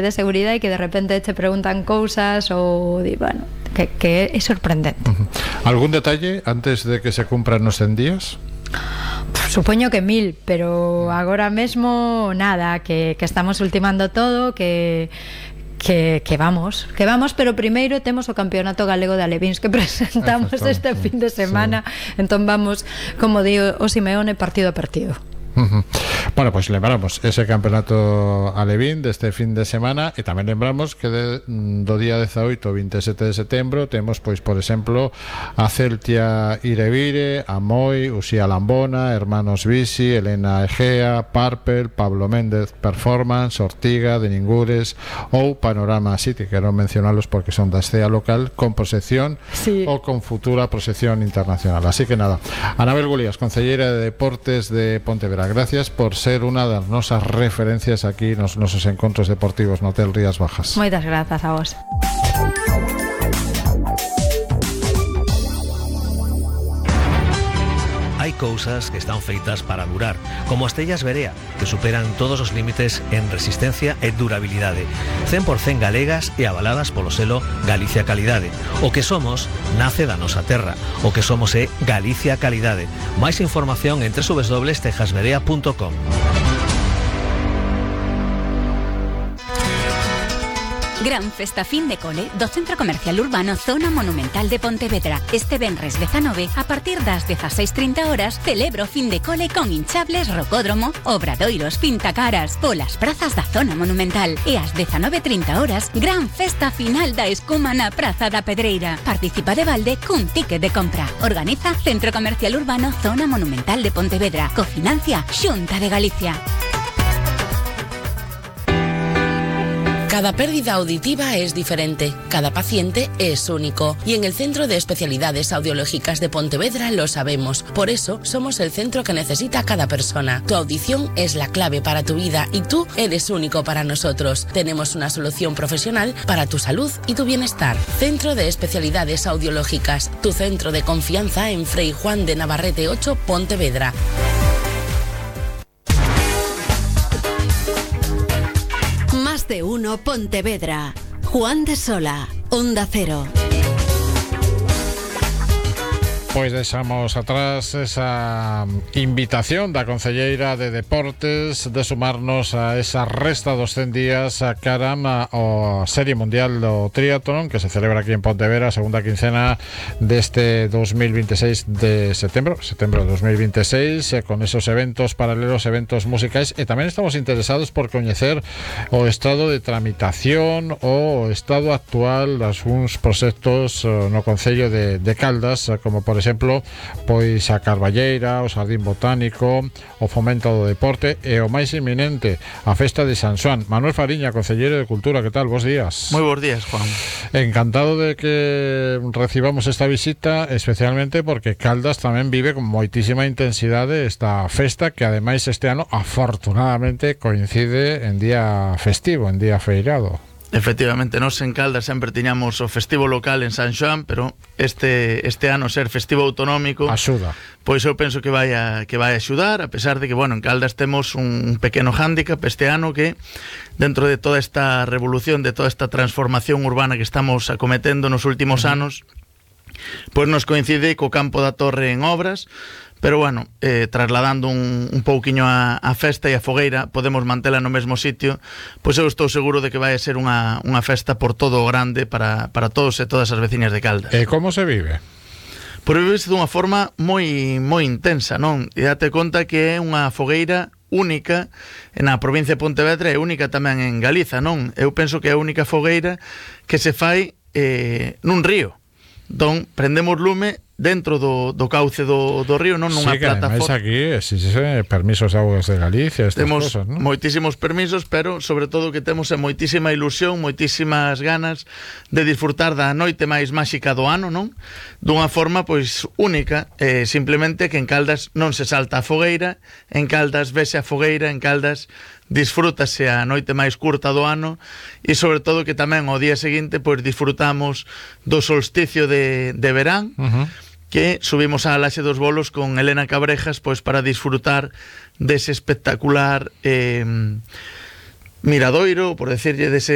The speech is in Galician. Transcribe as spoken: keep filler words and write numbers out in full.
de seguridade e que de repente te preguntan cousas ou, bueno, que, que é sorprendente. Uh-huh. Algún detalle antes de que se cumpran os cen días? Supoño que mil, pero agora mesmo nada, que, que estamos ultimando todo, que Que, que vamos, que vamos, pero primeiro temos o Campeonato Galego de Alevíns que presentamos este fin de semana, sí. Entón vamos, como digo o Simeone, partido a partido. Uh-huh. Bueno, pois pues lembramos ese campeonato alevín deste fin de semana e tamén lembramos que de, do día dezaoito ao vinte e sete de setembro temos, pois, por exemplo, a Celtia Irevire, a Moi, Uxía Lambona, Hermanos Bisi, Elena Egea, Parpel, Pablo Méndez Performance, Ortiga, de Ningures ou Panorama City, quero mencionalos porque son da escena local con proxección, sí, ou con futura proxección internacional. Así que nada, Anabel Gulías, concelleira de Deportes de Pontevedra, gracias por ser unha das nosas referencias aquí nos nosos encontros deportivos no Hotel Rías Bajas. Moitas grazas a vos. Hai cousas que están feitas para durar, como as tellas Berea, que superan todos os límites en resistencia e durabilidade, cen por cento galegas e avaladas polo selo Galicia Calidade. O que somos nace da nosa terra, o que somos é Galicia Calidade. Máis información en doble u doble u doble u punto tejas berea punto com. Gran festa fin de cole do Centro Comercial Urbano Zona Monumental de Pontevedra. Este venres dezanove, a partir das dezaseis trinta horas, celebro fin de cole con hinchables, rocódromo, obradoiros, pintacaras, polas prazas da Zona Monumental. E ás dezanove trinta horas, gran festa final da escuma na Praza da Pedreira. Participa de balde cun ticket de compra. Organiza Centro Comercial Urbano Zona Monumental de Pontevedra. Cofinancia Xunta de Galicia. Cada pérdida auditiva es diferente, cada paciente es único y en el Centro de Especialidades Audiológicas de Pontevedra lo sabemos. Por eso somos el centro que necesita cada persona. Tu audición es la clave para tu vida y tú eres único para nosotros. Tenemos una solución profesional para tu salud y tu bienestar. Centro de Especialidades Audiológicas, tu centro de confianza en Frei Juan de Navarrete ocho, Pontevedra. De uno Pontevedra. Juan de Sola, Onda Cero. Pois deixamos atrás esa invitación da concelleira de Deportes de sumarnos a esa resta dos cen días a cara a Serie Mundial do Triatlón que se celebra aquí en Pontevedra, segunda quincena deste dos mil veintiséis de setembro, setembro de dos mil veintiséis, con esos eventos paralelos, eventos musicais, e tamén estamos interesados por coñecer o estado de tramitación ou o estado actual das uns proxectos no Concello de, de Caldas, como por exemplo, pois a Carballeira, o Xardín Botánico, o fomento do deporte e o máis inminente, a festa de San Xoán. Manuel Fariña, concelleiro de Cultura, que tal? Bos días. Moi bons días, Juan. Encantado de que recibamos esta visita, especialmente porque Caldas tamén vive con moitísima intensidade esta festa, que ademais este ano afortunadamente coincide en día festivo, en día feirado. Efectivamente, nós en Caldas sempre tiñamos o festivo local en San Xoán, pero este este ano ser festivo autonómico axuda. Pois eu penso que vai a que vai a axudar, a pesar de que, bueno, en Caldas temos un pequeno hándicap este ano que dentro de toda esta revolución, de toda esta transformación urbana que estamos acometendo nos últimos uh-huh. anos, pois nos coincide co Campo da Torre en obras. Pero bueno, eh, trasladando un, un pouquiño a, a festa e a fogueira, podemos mantela no mesmo sitio, pois eu estou seguro de que vai ser unha, unha festa por todo o grande para, para todos e todas as veciñas de Caldas. E como se vive? Por vive dunha forma moi moi intensa, non? E date conta que é unha fogueira única na provincia de Pontevedra e única tamén en Galiza, non? Eu penso que é a única fogueira que se fai eh, nun río. Entón, prendemos lume dentro do, do cauce do, do río, non nunha sí, que plataforma. Aquí existe permisos de augas de Galicia, estas temos cosas, ¿no? Moitísimos permisos, pero sobre todo que temos moitísima ilusión, moitísimas ganas de disfrutar da noite máis máxica do ano, non? Dunha forma pois única, eh, simplemente que en Caldas non se salta a fogueira, en Caldas vese a fogueira, en Caldas disfrútase a noite máis curta do ano e sobre todo que tamén ao día seguinte pois disfrutamos do solsticio de, de verán, uh-huh. que subimos á Laxe dos Bolos con Elena Cabrejas pois para disfrutar dese espectacular eh, miradoiro, por decirlle dese